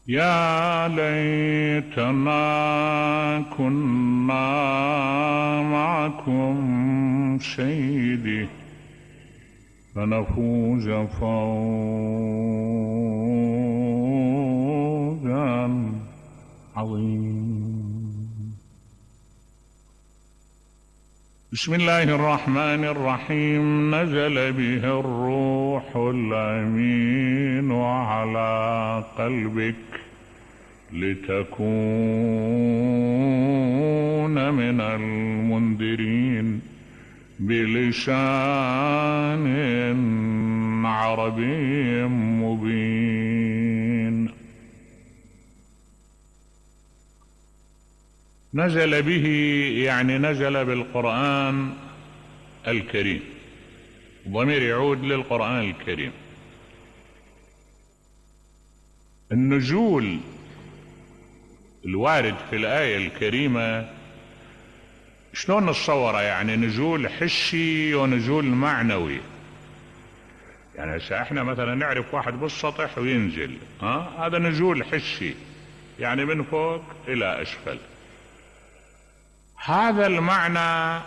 يا ليتنا كنا معكم سيدي فنفوز فوزا عظيما. بسم الله الرحمن الرحيم. نزل به الروح الأمين على قلبك لتكون من المنذرين بلسان عربي مبين. نزل به يعني نزل بالقرآن الكريم، ضمير يعود للقرآن الكريم. النزول الوارد في الآية الكريمة شلون نتصوره؟ يعني نزول حسي ونزول معنوي. يعني هسه احنا مثلا نعرف واحد بالسطح وينزل، هذا نزول حسي، يعني من فوق الى اسفل. هذا المعنى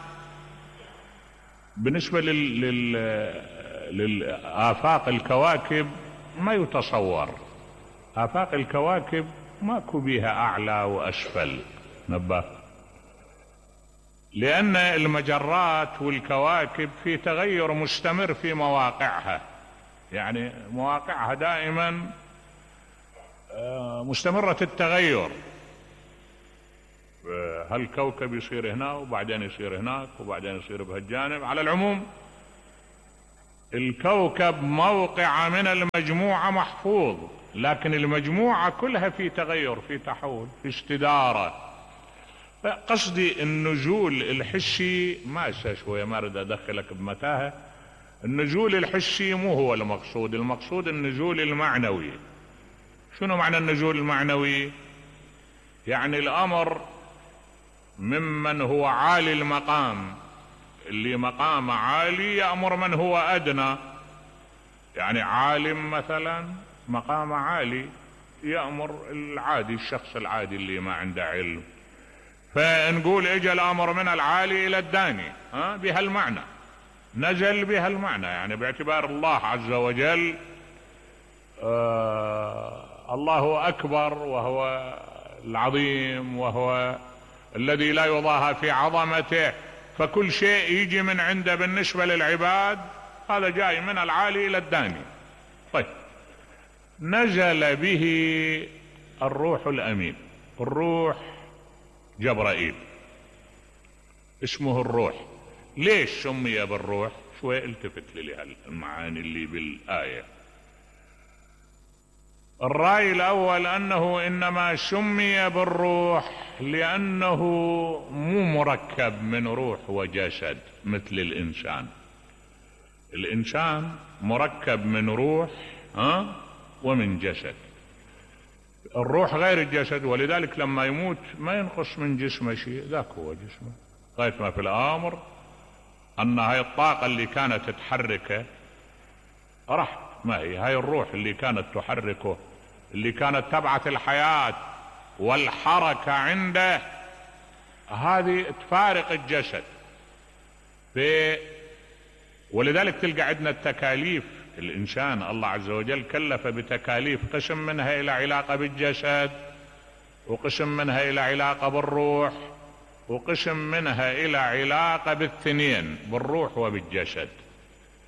بالنسبة للآفاق الكواكب ما يتصور. آفاق الكواكب ماكو بيها أعلى وأسفل، نبه، لأن المجرات والكواكب في تغير مستمر في مواقعها، يعني مواقعها دائما مستمرة التغير. هالكوكب يصير هنا وبعدين يصير هناك وبعدين يصير بهالجانب. على العموم الكوكب موقع من المجموعة محفوظ، لكن المجموعة كلها في تغير، في تحول، في استدارة. قصدي النزول الحسي ما شوية ما اريد ادخلك بمتاهة. النزول الحسي مو هو المقصود، المقصود النزول المعنوي. شنو معنى النزول المعنوي؟ يعني الامر ممن هو عالي المقام، اللي مقام عالي، يأمر من هو ادنى. يعني عالم مثلا مقام عالي يأمر العادي، الشخص العادي اللي ما عنده علم. فنقول اجى الامر من العالي الى الداني، بهالمعنى، نزل بهالمعنى. يعني باعتبار الله عز وجل الله اكبر، وهو العظيم، وهو الذي لا يضاهى في عظمته، فكل شيء يجي من عنده بالنسبة للعباد هذا جاي من العالي الى الداني. طيب، نزل به الروح الامين. الروح جبرائيل اسمه الروح. ليش سمي بالروح؟ شوي التفت لي المعاني اللي بالآية. الرأي الأول أنه إنما سمي بالروح لأنه مو مركب من روح وجسد مثل الإنسان. الإنسان مركب من روح ومن جسد. الروح غير الجسد، ولذلك لما يموت ما ينقص من جسمه شيء، ذاك هو جسمه. غاية ما في الأمر أن هاي الطاقة اللي كانت تحركه راحت. ما هي هاي الروح اللي كانت تحركه، اللي كانت تبعث الحياة والحركة عنده، هذه تفارق الجسد. ولذلك تلقى عندنا التكاليف. الإنسان الله عز وجل كلف بتكاليف، قسم منها إلى علاقة بالجسد، وقسم منها إلى علاقة بالروح، وقسم منها إلى علاقة بالثنين، بالروح وبالجسد.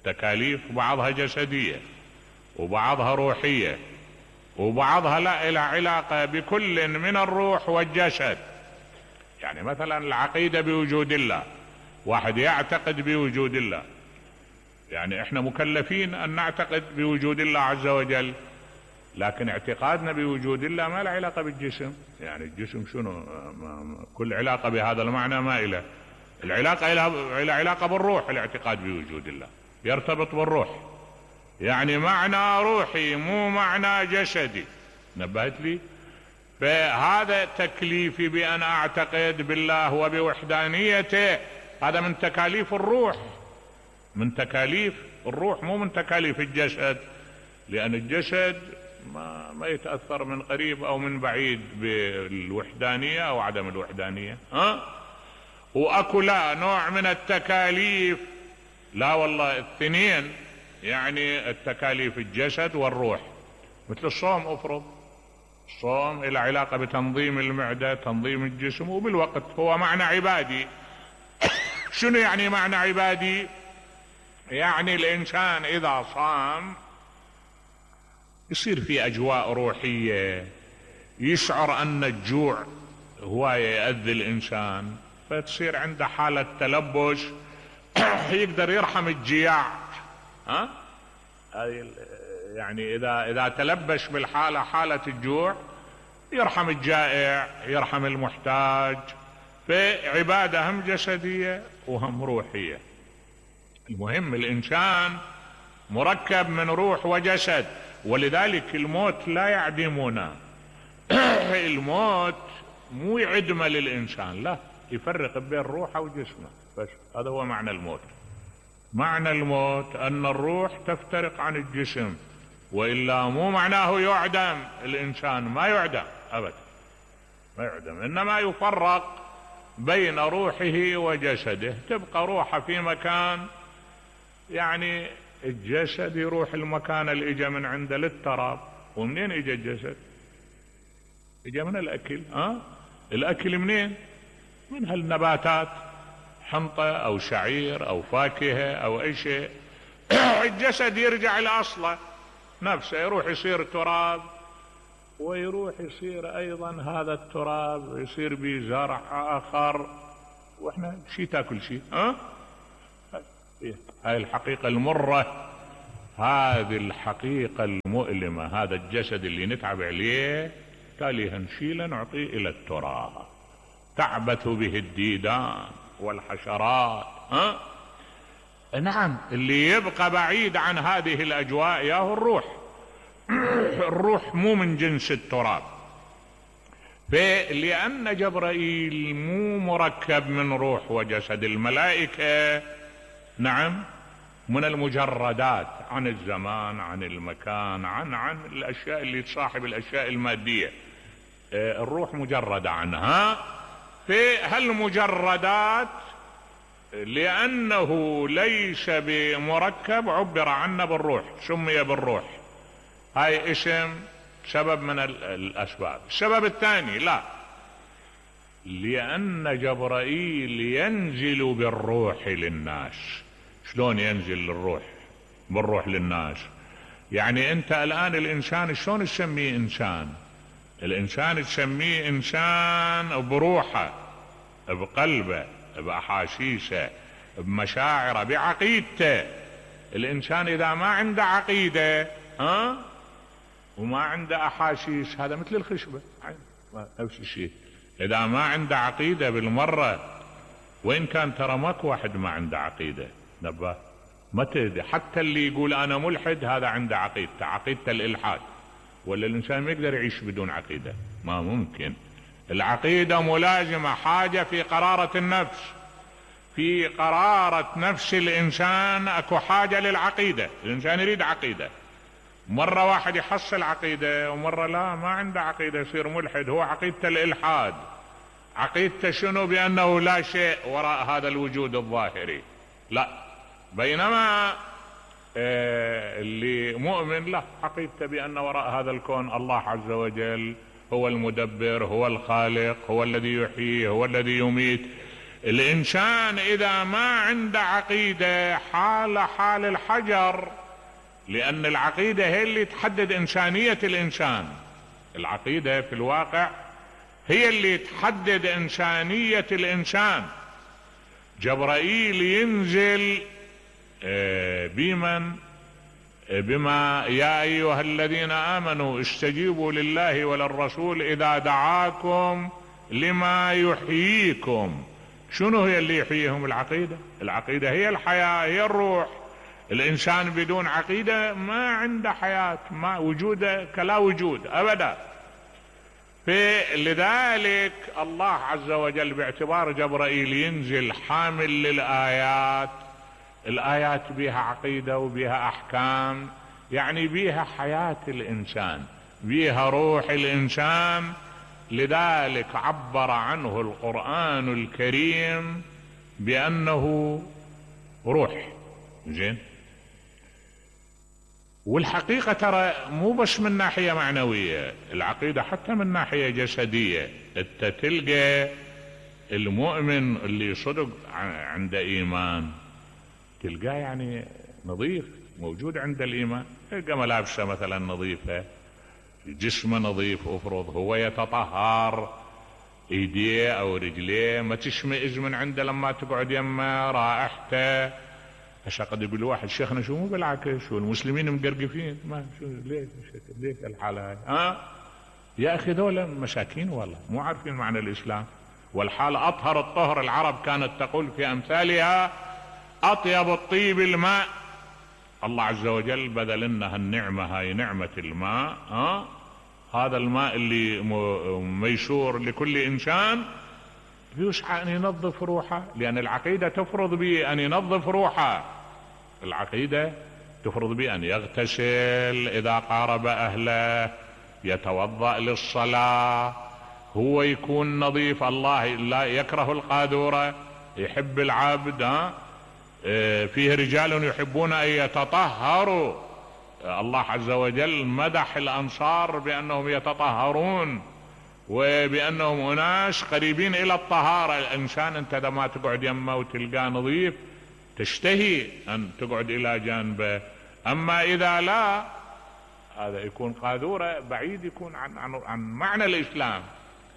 تكاليف بعضها جسدية وبعضها روحية، وبعضها لا إلى علاقة بكل من الروح والجسد. يعني مثلا العقيدة بوجود الله، واحد يعتقد بوجود الله، يعني احنا مكلفين ان نعتقد بوجود الله عز وجل، لكن اعتقادنا بوجود الله ما له علاقة بالجسم. يعني الجسم شنو؟ كل علاقة بهذا المعنى ما إله. العلاقة إلى علاقة بالروح. الاعتقاد بوجود الله يرتبط بالروح، يعني معنى روحي مو معنى جسدي. نبهت لي؟ فهذا تكليفي بأن أعتقد بالله وبوحدانيته، هذا من تكاليف الروح، من تكاليف الروح، مو من تكاليف الجسد. لأن الجسد ما يتأثر من قريب او من بعيد بالوحدانية او عدم الوحدانية. واكو لا نوع من التكاليف، لا والله الاثنين، يعني التكاليف الجسد والروح. مثل الصوم، افرض الصوم له علاقة بتنظيم المعدة، تنظيم الجسم، وبالوقت هو معنى عبادي. شنو يعني معنى عبادي؟ يعني الانسان اذا صام يصير في اجواء روحية، يشعر ان الجوع هواية يأذي الانسان، فتصير عنده حالة تلبس، يقدر يرحم الجياع. يعني اذا تلبش بالحالة، حالة الجوع، يرحم الجائع، يرحم المحتاج. فعبادة هم جسدية وهم روحية. المهم الانسان مركب من روح وجسد، ولذلك الموت لا يعدمنا. الموت مو يعدم للانسان، لا، يفرق بين روحه وجسمه بس. هذا هو معنى الموت. معنى الموت ان الروح تفترق عن الجسم، والا مو معناه يعدم الانسان، ما يعدم ابدا، ما يعدم، انما يفرق بين روحه وجسده. تبقى روحه في مكان، يعني الجسد يروح المكان اللي اجى من عنده للتراب. ومنين اجى الجسد؟ اجى من الاكل. الاكل منين؟ من هالنباتات، حنطة او شعير او فاكهة او اي شيء. الجسد يرجع لاصله نفسه، يروح يصير تراب، ويروح يصير ايضا هذا التراب يصير به زرع اخر، واحنا شي تاكل شي. هاي الحقيقة المرة، هذه الحقيقة المؤلمة. هذا الجسد اللي نتعب عليه تالي نشيله نعطيه الى التراب، تعبث به الديدان والحشرات. نعم، اللي يبقى بعيد عن هذه الاجواء ياهو الروح. الروح مو من جنس التراب. لأن جبرائيل مو مركب من روح وجسد. الملائكة نعم من المجردات عن الزمان، عن المكان، عن الاشياء اللي تصاحب الاشياء المادية. الروح مجردة عنها. في هالمجردات لأنه ليس بمركب عبر عنه بالروح، سمي بالروح. هاي اسم، سبب من الأسباب. السبب الثاني، لا، لأن جبرائيل ينزل بالروح للناس. شلون ينزل بالروح للناس؟ يعني انت الآن الإنسان شلون تسميه إنسان؟ الإنسان تسميه إنسان بروحه، بقلبه، بأحاسيسه، بمشاعره، بعقيدته. الإنسان إذا ما عنده عقيدة وما عنده أحاسيس، هذا مثل الخشبة، نفس الشيء. إذا ما عنده عقيدة بالمرة، وإن كان ترى ماكو واحد ما عنده عقيدة، نبه، ما تدري. حتى اللي يقول أنا ملحد هذا عنده عقيدته الإلحاد. ولا الإنسان ما يقدر يعيش بدون عقيدة، ما ممكن. العقيدة ملازمة، حاجة في قرارة النفس. في قرارة نفس الإنسان أكو حاجة للعقيدة. الإنسان يريد عقيدة. مرة واحد يحصل عقيدة، ومرة لا، ما عنده عقيدة، يصير ملحد. هو عقيدته الإلحاد. عقيدته شنو؟ بأنه لا شيء وراء هذا الوجود الظاهري، لا. بينما اللي مؤمن لا، عقيدته بأن وراء هذا الكون الله عز وجل هو المدبر، هو الخالق، هو الذي يحيي، هو الذي يميت. الإنسان إذا ما عنده عقيدة حال الحجر، لأن العقيدة هي اللي تحدد إنسانية الإنسان. العقيدة في الواقع هي اللي تحدد إنسانية الإنسان. جبرائيل ينزل بما يا أيها الذين آمنوا استجيبوا لله وللرسول إذا دعاكم لما يحييكم. شنو هي اللي يحييهم؟ العقيدة. العقيدة هي الحياة، هي الروح. الإنسان بدون عقيدة ما عنده حياة، ما وجوده كلا وجود أبدا. لذلك الله عز وجل باعتبار جبرائيل ينزل حامل للآيات، الآيات بها عقيدة وبها أحكام، يعني بيها حياة الإنسان، بيها روح الإنسان. لذلك عبر عنه القرآن الكريم بأنه روح. زين. والحقيقة ترى مو بس من ناحية معنوية، العقيدة حتى من ناحية جسدية. انت تلقى المؤمن اللي صدق عنده إيمان تلقاه يعني نظيف، موجود عند الإيمان. تلقى ملابسه مثلا نظيفة، جسمه نظيف، افرض هو يتطهر، ايديه او رجليه ما تشمئز من عنده لما تقعد يمه، رائحته. هسه قد يقول واحد شيخنا شو مو بالعكس، شو المسلمين مقرقفين، ما شو ليش الحالة هاي؟ يا اخي ذولا مساكين والله مو عارفين معنى الاسلام. والحال اطهر الطهر، العرب كانت تقول في امثالها اطيب الطيب الماء. الله عز وجل بذل لنا هالنعمة هاي، نعمة الماء. هذا الماء اللي ميسور لكل انسان يسعى ان ينظف روحه، لان العقيدة تفرض به ان ينظف روحه. العقيدة تفرض به ان يغتسل اذا قارب اهله، يتوضأ للصلاة، هو يكون نظيف. الله لا يكره القاذورة، يحب العبد. فيه رجال يحبون ان يتطهروا. الله عز وجل مدح الانصار بانهم يتطهرون وبانهم اناس قريبين الى الطهارة. الانسان انت لما تقعد يمه وتلقاه نظيف تشتهي ان تقعد الى جانبه. اما اذا لا، هذا يكون قاذورة، بعيد يكون عن معنى الاسلام،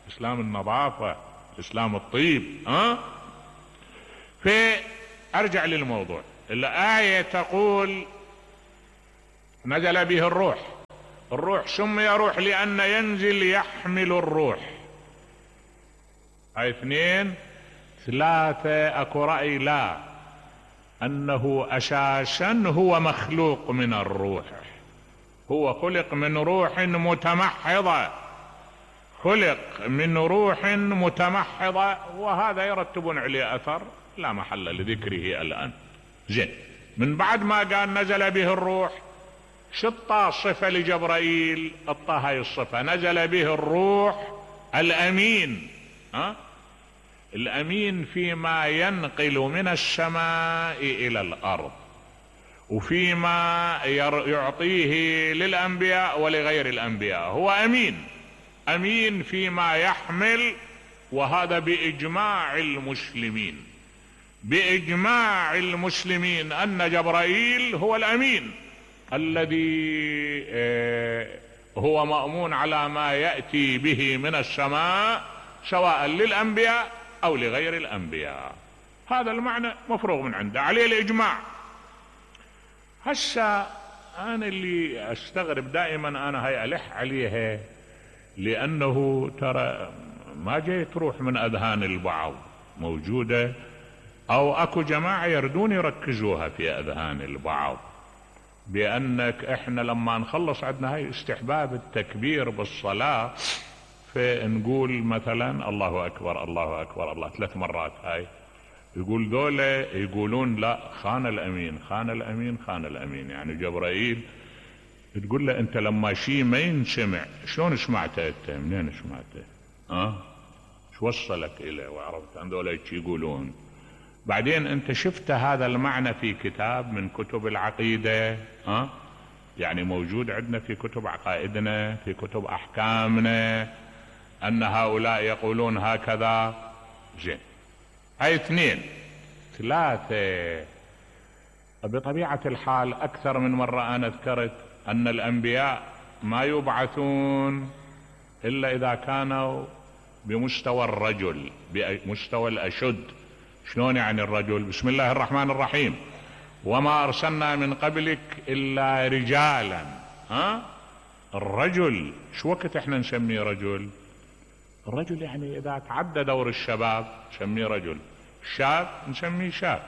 اسلام النظافة، اسلام الطيب. فارجع للموضوع. الآية تقول نزل به الروح. الروح سمي روح لأن ينزل يحمل الروح. هاي 2. 3 اكو رأي لا، انه اساسا هو مخلوق من الروح، هو خلق من روح متمحضة، خلق من روح متمحضة، وهذا يرتبون عليه اثر لا محل لذكره الان. زين. من بعد ما قال نزل به الروح، شطى صفة لجبرائيل، اعطاه هاي الصفة، نزل به الروح الامين. الامين فيما ينقل من السماء الى الارض، وفيما يعطيه للانبياء ولغير الانبياء. هو امين، امين فيما يحمل. وهذا باجماع المسلمين، باجماع المسلمين ان جبرائيل هو الامين الذي هو مأمون على ما يأتي به من السماء، سواء للأنبياء أو لغير الأنبياء. هذا المعنى مفروغ من عنده، عليه الإجماع. هسه أنا اللي أستغرب دائما، أنا هاي ألح عليها، لأنه ترى ما جاي تروح من أذهان البعض، موجودة، أو أكو جماعة يردون يركزوها في أذهان البعض، بأنك إحنا لما نخلص عندنا هاي استحباب التكبير بالصلاة، فنقول مثلا الله أكبر الله أكبر الله 3 مرات. هاي يقول ذولا يقولون لا، خان الأمين خان الأمين خان الأمين. يعني جبرائيل تقول له أنت لما شيء ما ينسمع شلون سمعته أنت؟ منين سمعته؟ شو وصلك إليه وعرفت عن ذولا يقولون؟ بعدين انت شفت هذا المعنى في كتاب من كتب العقيدة؟ يعني موجود عندنا في كتب عقائدنا، في كتب احكامنا، ان هؤلاء يقولون هكذا. زين. هاي 2. 3 بطبيعة الحال اكثر من مرة انا ذكرت ان الانبياء ما يبعثون الا اذا كانوا بمستوى الرجل، بمستوى الاشد. شلون يعني الرجل؟ بسم الله الرحمن الرحيم، وما ارسلنا من قبلك الا رجالا. الرجل شو وقت احنا نسميه رجل؟ الرجل يعني اذا تعدى دور الشباب نسميه رجل، الشاب نسميه شاب،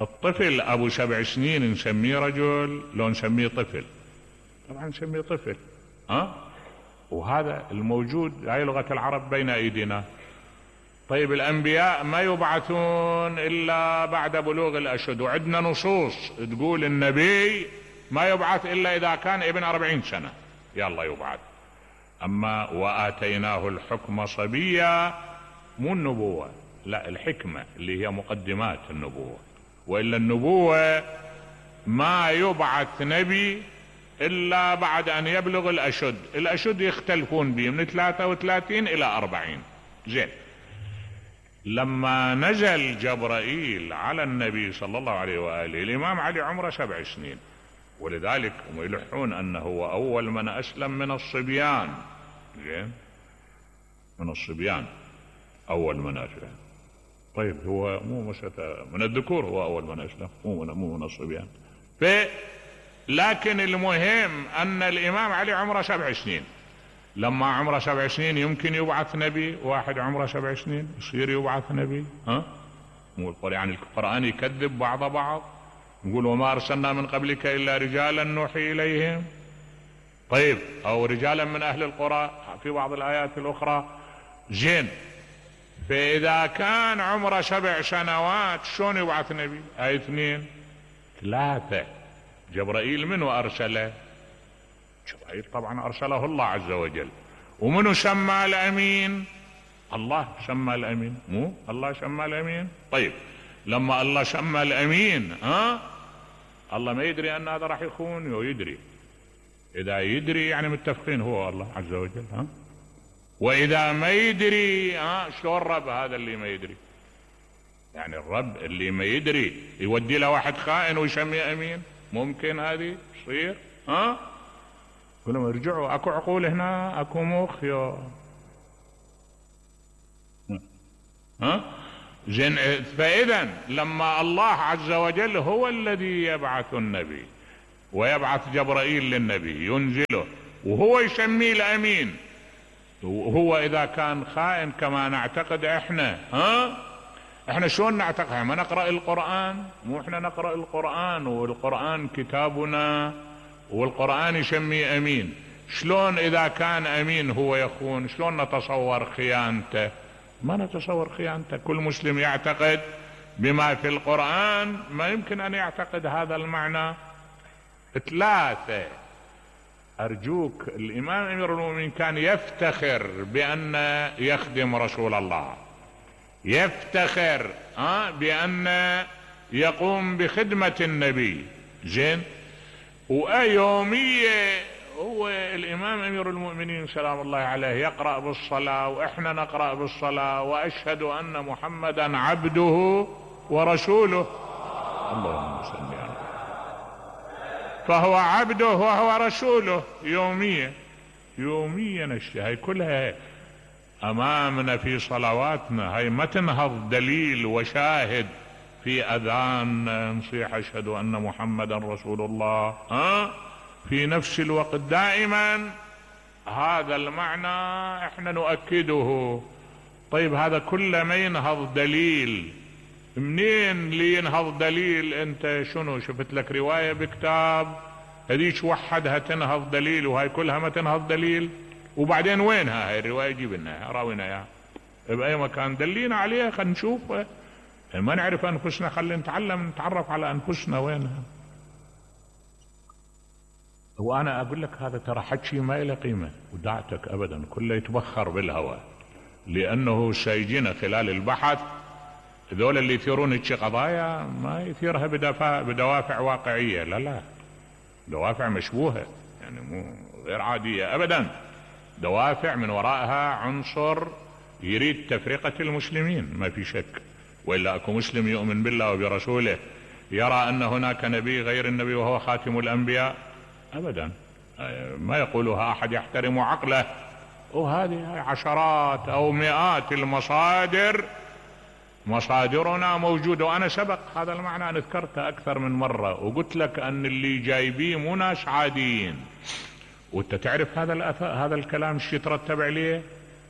الطفل ابو 7 سنين نسميه رجل لو نسميه طفل؟ طبعا نسميه طفل. وهذا الموجود، هاي لغة العرب بين ايدينا. طيب الانبياء ما يبعثون الا بعد بلوغ الاشد، وعندنا نصوص تقول النبي ما يبعث الا اذا كان ابن 40 سنة يلا يبعث. اما واتيناه الحكم صبيا، مو النبوة، لا الحكمة اللي هي مقدمات النبوة. والا النبوة ما يبعث نبي الا بعد ان يبلغ الاشد. الاشد يختلفون به من 33 الى 40. زين، لما نزل جبرائيل على النبي صلى الله عليه وآله الامام علي عمره 7 سنين، ولذلك هم يلحون انه هو اول من اسلم من الصبيان. زين، من الصبيان اول من اسلم. طيب هو مو من الذكور، هو اول من اسلم، مو من الصبيان. لكن المهم ان الامام علي عمره 7 سنين. لما عمره 7 سنين يمكن يبعث نبي؟ واحد عمره 7 سنين يصير يبعث نبي؟ مو يعني القرآن يكذب بعض. نقول وما ارسلنا من قبلك الا رجالا نوحي اليهم. طيب، او رجالا من اهل القرى في بعض الايات الاخرى. زين، فاذا كان عمره 7 سنوات شلون يبعث نبي؟ هاي 2 3. جبرائيل منو ارسله؟ جبرائيل طبعا ارسله الله عز وجل. ومنو سمى الامين؟ الله سمى الامين، مو الله سمى الامين. طيب، لما الله سمى الامين الله ما يدري ان هذا راح يخون؟ يدري. اذا يدري يعني متفقين هو الله عز وجل. واذا ما يدري شلون الرب هذا اللي ما يدري؟ يعني الرب اللي ما يدري يودي له واحد خائن ويسميه امين؟ ممكن هذه تصير؟ كلهم ارجعوا، اكو عقول هنا، اكو مخ زين. فاذا لما الله عز وجل هو الذي يبعث النبي ويبعث جبرائيل للنبي ينزله وهو يسميه الامين، وهو اذا كان خائن كما نعتقد احنا شلون نعتقد؟ ما نقرأ القرآن؟ مو احنا نقرأ القرآن والقرآن كتابنا والقرآن يسميه امين. شلون اذا كان امين هو يخون؟ شلون نتصور خيانته؟ ما نتصور خيانته. كل مسلم يعتقد بما في القرآن، ما يمكن ان يعتقد هذا المعنى. 3، ارجوك، الامام امير المؤمنين كان يفتخر بان يخدم رسول الله، يفتخر بان يقوم بخدمة النبي. زين، ويومية هو الامام امير المؤمنين سلام الله عليه يقرأ بالصلاة واحنا نقرأ بالصلاة، واشهد ان محمدا عبده ورسوله. اللهم صل على، فهو عبده وهو رسوله يوميا. هاي كلها امامنا في صلواتنا، هاي ما تنهض دليل وشاهد في اذان نصيح اشهد ان محمدا رسول الله في نفس الوقت دائما. هذا المعنى احنا نؤكده. طيب، هذا كله ما ينهض دليل. منين اللي ينهض دليل؟ انت شنو شفت لك رواية بكتاب هذيك وحدها تنهض دليل وهاي كلها ما تنهض دليل؟ وبعدين وينها هاي الرواية؟ جيب لنا راوينا اياها بأي مكان، دلينا عليها خلينا نشوفها. ما نعرف انفسنا، خلينا نتعلم نتعرف على انفسنا وينها. وانا اقول لك هذا ترى حكي ما له قيمة ودعتك ابدا، كله يتبخر بالهواء، لانه سيجينا خلال البحث ذول اللي يثيرون هيك قضايا ما يثيرها بدوافع واقعية، لا، دوافع مشبوهة، يعني مو غير عادية ابدا، دوافع من وراءها عنصر يريد تفرقة المسلمين ما في شك. وإلا اكو مسلم يؤمن بالله وبرسوله يرى ان هناك نبي غير النبي وهو خاتم الانبياء؟ ابدا، ما يقولها احد يحترم عقله. وهذه عشرات او مئات المصادر، مصادرنا موجودة. وانا سبق هذا المعنى انا ذكرته اكثر من مرة، وقلت لك ان اللي جايبيه مو ناس عاديين. وانت تعرف هذا الكلام ايش يترتب عليه؟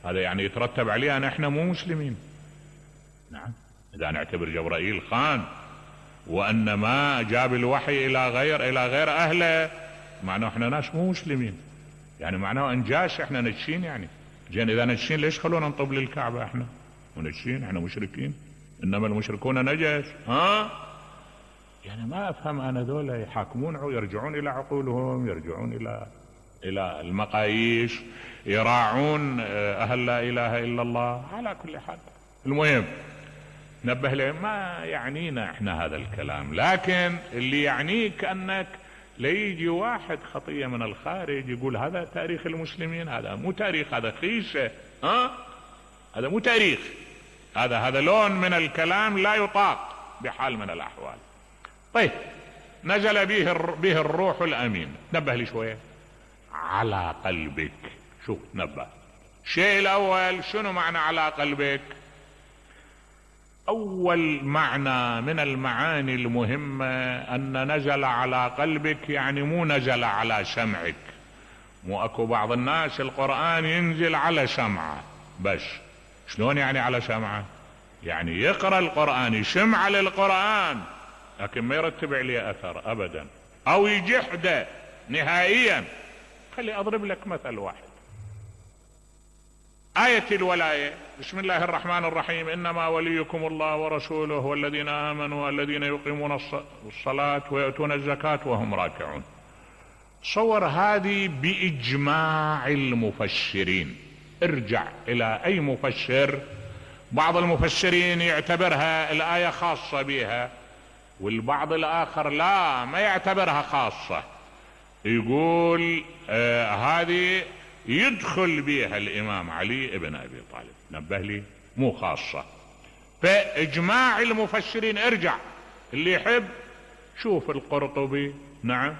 هذا يعني يترتب عليه ان احنا مو مسلمين. نعم، اذا نعتبر جبرائيل خان وان ما جاب الوحي الى غير اهله، معناه احنا ناس مو مسلمين، يعني معناه انجاش احنا نجشين. يعني زين، اذا نجشين ليش خلونا نطب للكعبة احنا ونجشين؟ احنا مشركين، انما المشركون نجس. يعني ما افهم انا دول يحاكمون يرجعون الى عقولهم، يرجعون الى المقاييس، يراعون اهل لا اله الا الله. على كل حال المهم نبه لهم ما يعنينا احنا هذا الكلام، لكن اللي يعنيك انك ليجي واحد خطية من الخارج يقول هذا تاريخ المسلمين، هذا مو تاريخ، هذا خيشة، هذا مو تاريخ، هذا لون من الكلام لا يطاق بحال من الاحوال. طيب نزل به الروح الامين. نبه لي شوية على قلبك. شوف نبه. الشيء الاول شنو معنى على قلبك؟ اول معنى من المعاني المهمة ان نزل على قلبك، يعني مو نزل على سمعك. مو اكو بعض الناس القرآن ينزل على سمعه بس. شلون يعني على سمعه؟ يعني يقرأ القرآن، يسمع للقرآن، لكن ما يرتب عليه اثر ابدا، او يجحده نهائيا. خلي اضرب لك مثل واحد. آية الولاية، بسم الله الرحمن الرحيم، انما وليكم الله ورسوله والذين امنوا والذين يقيمون الصلاة ويؤتون الزكاة وهم راكعون. صور هذه باجماع المفسرين. ارجع الى اي مفسر، بعض المفسرين يعتبرها الآية خاصة بها، والبعض الاخر لا، ما يعتبرها خاصة، يقول هذه يدخل بها الامام علي ابن ابي طالب. نبه لي مو خاصة. فاجماع المفسرين، ارجع اللي يحب شوف القرطبي، نعم،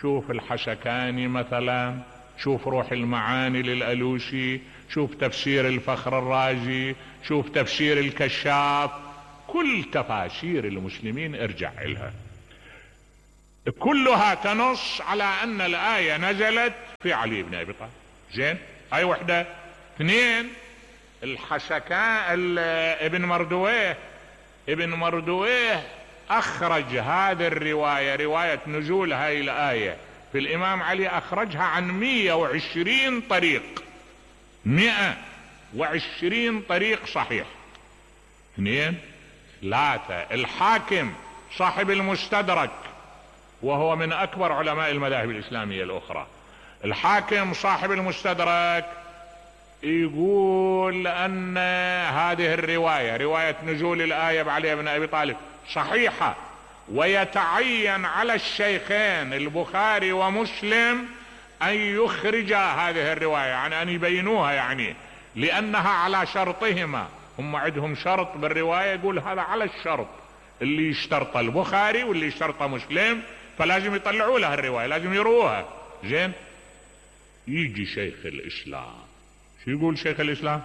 شوف الحسكاني مثلا، شوف روح المعاني للألوسي، شوف تفسير الفخر الرازي، شوف تفسير الكشاف، كل تفاسير المسلمين ارجع لها، كلها تنص على ان الآية نزلت في علي بن ابي طالب. زين، هاي وحدة. اثنين، الحسكان ابن مردويه اخرج هذه الرواية، رواية نزول هاي الآية في الامام علي، اخرجها عن 120 طريق، 120 طريق صحيح. اثنين. ثلاثة، الحاكم صاحب المستدرك، وهو من اكبر علماء المذاهب الاسلامية الاخرى، الحاكم صاحب المستدرك يقول ان هذه الرواية، رواية نزول الآية بعلي بن ابي طالب، صحيحة، ويتعين على الشيخين البخاري ومسلم ان يخرجا هذه الرواية، يعني ان يبينوها، يعني لانها على شرطهما. هم عندهم شرط بالرواية، يقول هذا على الشرط اللي يشترط البخاري واللي يشترط مسلم، فلازم يطلعوا لها الرواية، لازم يروها. زين، يجي شيخ الاسلام، شو يقول شيخ الاسلام؟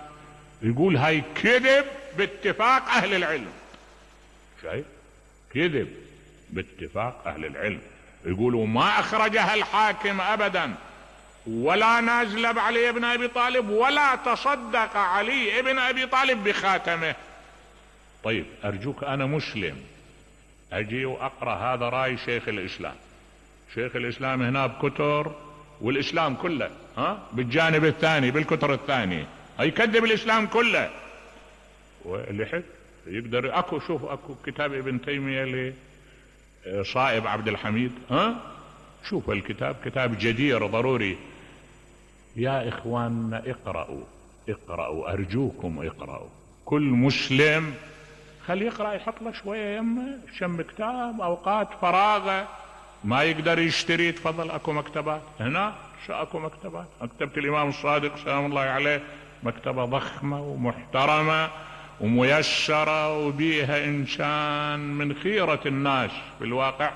يقول هاي كذب باتفاق اهل العلم. شايف؟ كذب باتفاق اهل العلم. يقولوا ما اخرجها الحاكم ابدا، ولا نازل علي بن ابي طالب، ولا تصدق علي بن ابي طالب بخاتمه. طيب ارجوك، انا مسلم اجي واقرأ هذا رأي شيخ الاسلام. شيخ الاسلام هنا بكتر، والاسلام كله بالجانب الثاني، بالكتر الثاني، يكذب الاسلام كله. واللي يحب يقدر، اكو كتاب ابن تيمية لصائب عبد الحميد، شوف الكتاب، كتاب جدير ضروري. يا اخواننا اقرأوا ارجوكم اقرأوا. كل مسلم خلي يقرأ، يحط له شوية يمه شم كتاب، اوقات فراغه ما يقدر يشتري، تفضل اكو مكتبات هنا، اكو مكتبات، مكتبة الامام الصادق سلام الله عليه، مكتبة ضخمة ومحترمة وميسرة، وبيها انسان من خيرة الناس في الواقع،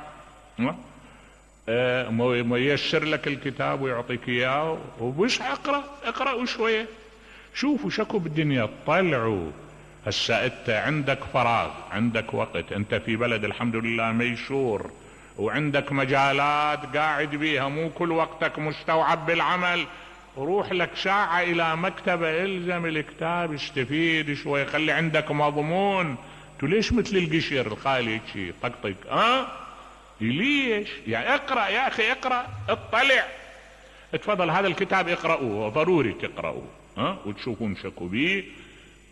ميسر لك الكتاب ويعطيك اياه، وبس اقرأوا شوية، شوفوا شكو بالدنيا، طلعوا. هسه انت عندك فراغ، عندك وقت، انت في بلد الحمد لله ميسور، وعندك مجالات قاعد بيها، مو كل وقتك مستوعب بالعمل، روح لك ساعة الى مكتبة، الزم الكتاب، استفيد شوي، خلي عندك مضمون. تو ليش مثل القشر الخالي شي طقطق؟ ليش؟ يعني اقرأ يا اخي، اقرأ، اطلع، اتفضل هذا الكتاب اقرأوه، ضروري تقرأوه، وتشوفون شكو بيه.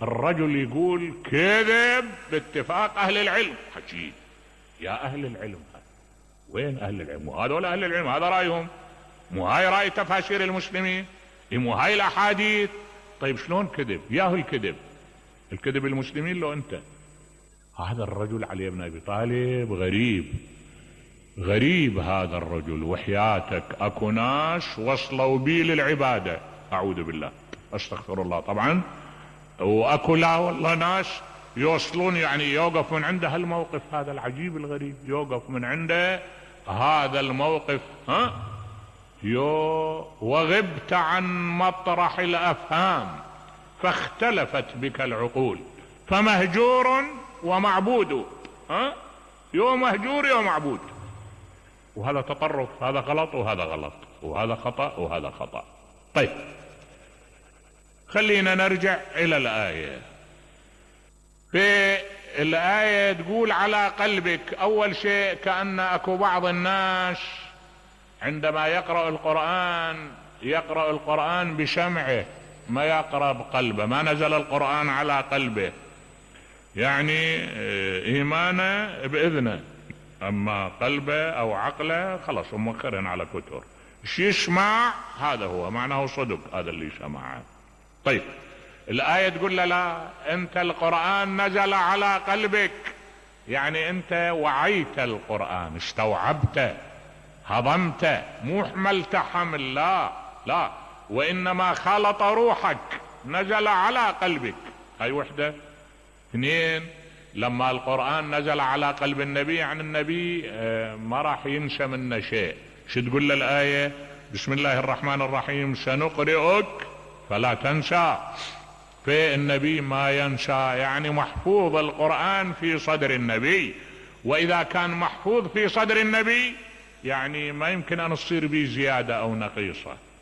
الرجل يقول كذب باتفاق اهل العلم، حكي يا اهل العلم، وين اهل العلم؟ وهذول اهل العلم، هذا رايهم، مو هاي راي تفاسير المسلمين، مو هاي الاحاديث. طيب شلون كذب؟ ياهو الكذب، الكذب المسلمين لو انت. هذا الرجل علي بن ابي طالب غريب، غريب هذا الرجل، وحياتك اكو ناس وصلوا بي للعبادة، اعوذ بالله استغفر الله طبعا، واكو لا والله ناس يوصلون، يعني يوقف من عنده هالموقف هذا العجيب الغريب، يوقف من عنده هذا الموقف. وغبت عن مطرح الافهام فاختلفت بك العقول فمهجور ومعبود. يو مهجور يو معبود. وهذا تطرف، هذا غلط وهذا غلط، وهذا خطأ وهذا خطأ. طيب خلينا نرجع الى الآية. في الآية تقول على قلبك، اول شيء كأن اكو بعض الناس عندما يقرأ القرآن بشمعه، ما يقرأ بقلبه، ما نزل القرآن على قلبه، يعني ايمانه باذنه، اما قلبه او عقله خلاص موخرين على كتر. يسمع، هذا هو معناه صدق هذا اللي سمعه. طيب الآية تقول له لا، انت القرآن نزل على قلبك، يعني انت وعيت القرآن، استوعبته، هضمته، مو حملت حمل، لا، وانما خلط روحك، نزل على قلبك. هاي وحدة. اثنين، لما القرآن نزل على قلب النبي، يعني النبي ما راح ينسى منه شيء. شو تقول له الآية؟ بسم الله الرحمن الرحيم سنقرئك فلا تنسى. في النبي ما ينسى، يعني محفوظ القرآن في صدر النبي، واذا كان محفوظ في صدر النبي يعني ما يمكن ان تصير به زيادة او نقيصة.